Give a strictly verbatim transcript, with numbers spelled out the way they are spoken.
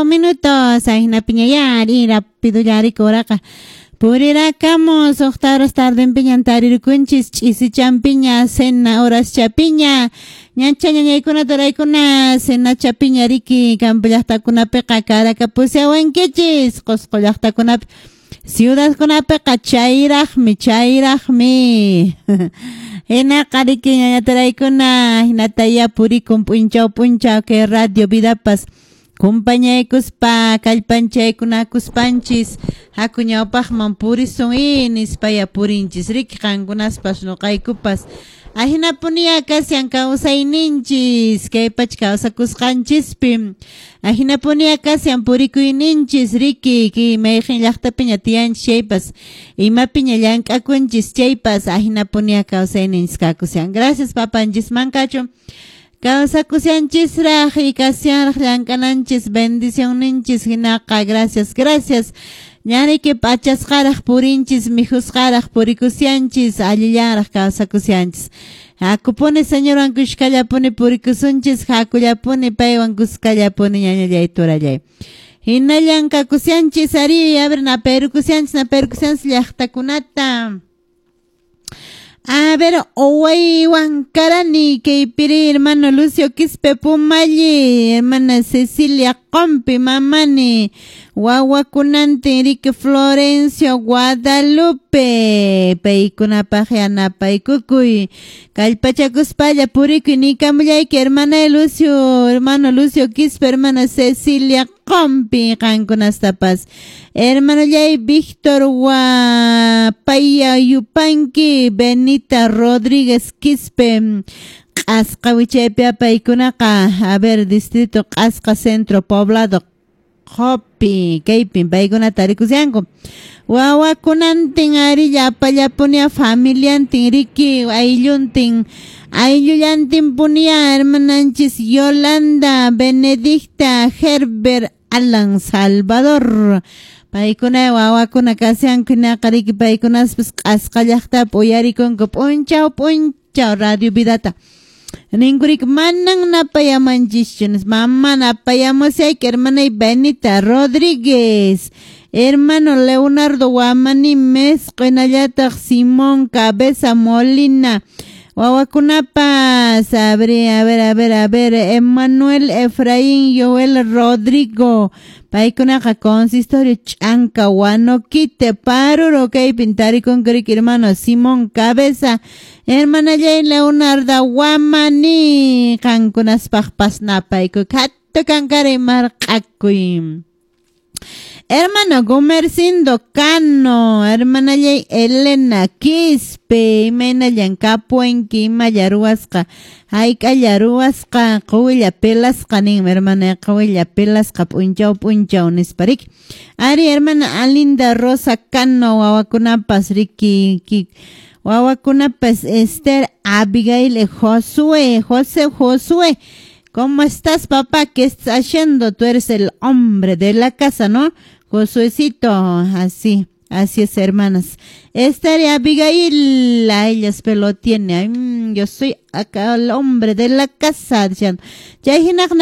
cinco minutos. Ahinapiña yari rápido yari koraqa. Purirakamu suqta horas tardenpiñan tarirukunchis ch'isichampiña cena horas chapiña ñancha ñañaykuna turaykuna cena chapiña riki campo llaqtakunapiqa karakapusiawankichis Qusqu llaqtakunapi ciudadkunapiqa chayraqmi chayraqmi hinaqa riki ñaña turaykuna hinataya purikun p'unchaw p'unchaw kay radio vidapas kumpañaykuspa kallpanchaykunakuspanchis haku ñawpaqman purisun i nispaya purinchis riki qankunaspas nuqaykupas ahinapunia kasyan kawsayninchis kay pacha kawsakusqanchispi ahinapunia kasyan purikuyninchis riki ki mayqin llaqtapiña tiyanchis chaypas imapiña llank'akunchis chaypas ahinapunia kawsayninchis kakusyan. Gracias papanchisman kachun. Kawsakusyanchisraq y kasyanraq llank'ananchis bendicionninchis hinaqa gracias gracias ñariki p'achasqaraq purinchis mikhusqaraq purikusyanchis allillanraq kawsakusyanchis hakupuni Señorwan kushkallapuni purikusunchis hakullapuni paywan kuskallapuni ñañallay turallay hinallan kakusyanchis ari a ver naperukusyanchis naperukusyanchis llaqtakunata. A ver, Oway Huancarani, Keipiri, hermano Lucio Quispe Pumalli, hermana Cecilia Compi, Mamani, Wawakunante, Enrique Florencio, Guadalupe, Paykunapaq yanapaykukuy, Kallpachakuspalla purikuy, nikamullayki, hermana Lucio, hermano Lucio Quispe, hermana Cecilia Compi, qankunastapas. Hermano Yay Víctor Guapaya Yupanqui, Benita Rodríguez Quispe, Q'asqa wichaypi apaykunaqa, a ver, distrito Q'asqa Centro Poblado Qopi, kaypin paykunata rikusyanku. Wawakunantin ari apallapunia familiantin riki aylluntin ayllullantin punia hermananchis Yolanda Benedicta Herbert Alan Salvador. Paykuna wawakuna kasyanku hinaqa riki paykunaspas q'asqa llaqtapi uyarikunku p'unchaw p'unchaw radio vidata. Ninkurik manan napayamanchischu mama napayamusayki hermanay Benita Rodríguez, hermano Leonardo Guamani Mesco, hinallataq Simón Cabeza Molina, wawakunapas, a ver, a ver, a ver, a ver, Emanuel Efraín Joel Rodrigo, paykunaqa consistorio Ch'anka Huanoquite, Paruro, kaypin tarikunku hermano Simón Cabeza, hermana Jay Leonardo Guamani, qankunaspaqpas napaykuy, hattu kankaray marq'akuy. Hermano Gumercindo Cano, hermana Jay Elena Quispe, imaynallan kapuenki, imalla ruwasqa, hayk'alla ruwasqa, quwilla pelasqa ninmi hermana, quwilla pelasqa p'unchaw p'unchaw nispa riki. Ari hermana Alinda Rosa Cano, wawakunapas riki, ki, wawakunapas Esther Abigail Josué, José Josué. ¿Cómo estás, papá? ¿Qué estás haciendo? Tú eres el hombre de la casa, ¿no? Josuecito, así, así es, hermanas. Esther y Abigail, a ellas pelo tiene. Ay, yo soy acá el hombre de la casa, decían.